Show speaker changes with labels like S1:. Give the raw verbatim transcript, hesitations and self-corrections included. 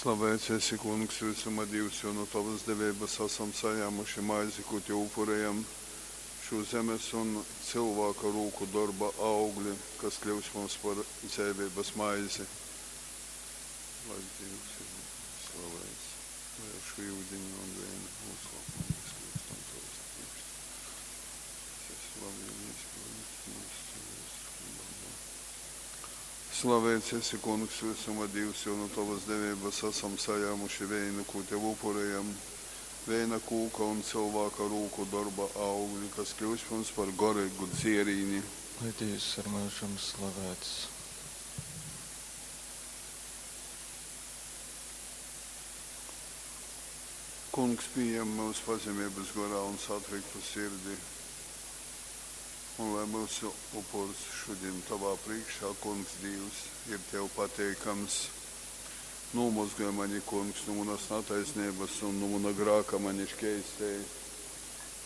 S1: Slaveits esi, Kungs, vysuma Dīvs, jo nu tovas deveibas asam sajāmuši maizi, kū tev upurejam, šū zemes un cylvāka rūku dorba augli, kas kļyus mums par dzeiveibas maizi. Lai Dīvs ir slaveits, lai ar šū yudini un veinu nūslāpumā mēs kļūstam tavas priekšteči. Es esi labi izpildīts mūsu ceļos un dorbā. Slaveits esi, Kungs, vysuma Dīvs, jo nu tovas deveibas asam sajāmuši veinu, kū tev upurejam, veina kūka un cylvāka rūku dorba augli, kas kļūs mums par goreigu dzierīni.
S2: Lai Dīvs ir myužam slavēts.
S1: Kungs pījem myus pazemeibas gorā un satriktu sirdi, un lai myusu upurs šudin tovā prīškā, Kungs Dīvs, ir tev pateikams. Nūmozgoj mani, Kungs, nu munas nataisneibas un nu muna grāka mani škeistej.